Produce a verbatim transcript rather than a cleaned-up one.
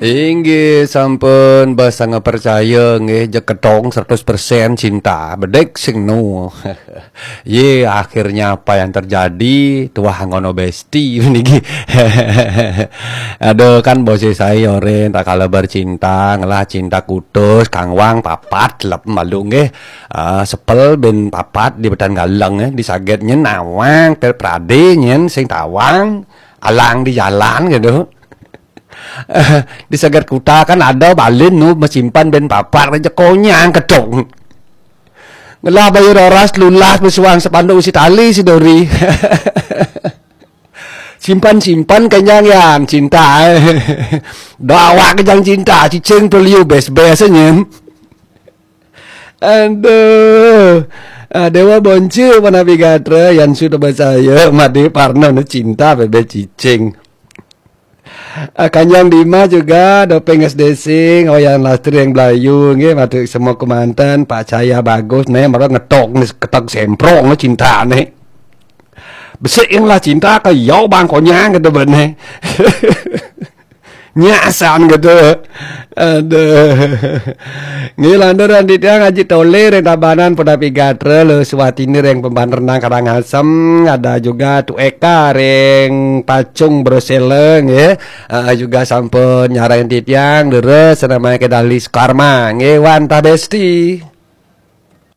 Inggih sampun, basa ngepercaya nggih, jek ketong seratus persen cinta. Bedek sing nu. Ye, akhirnya apa yang terjadi? Tuah ngono besti niki. Aduh, kan bose saya oren tak kalah bercinta, ngelah cinta kutus, kangwang papat lep malu nggih. Ah, sepel ben papat di betan galeng, eh, di saget nyen nawang, tel prade nyen sing tawang, alang di jalan gitu. Di saget kuta kan ada balin nu mesimpan ben papat aja konyang kedong. Ngelah bayar oras lulas besuang sepanduk usi tali si dori. Simpan-simpan kenyang yan cinta. Dawa kejang cinta, cicing peliu bes-bes nyen. Aduh. Ah, Dewa Bonce mana bigatra yang sudah percaya mati parno ne cinta bebe cicing. Ah, Kanjang Dima juga dopeng S D sing, oh yang lastri yang Belayu nggih, mati semua kemanten, Pak Cahaya bagus ne, malah ngetok ne, ketok semprong ne cinta ne. Besik yang lah cinta ke yo bang konyang gitu bene. Nyasan gitu. Aduh. Ngilandur andi tiang Haji Tole reng Tabanan poda pigatra lo suwatini reng pemban renang Karangasem, ada juga Tu Eka reng Pacung Brosele nggih. Eh, juga sampun nyarang titiang leres namanya ke Dali Sukarma nggih, wantah besti.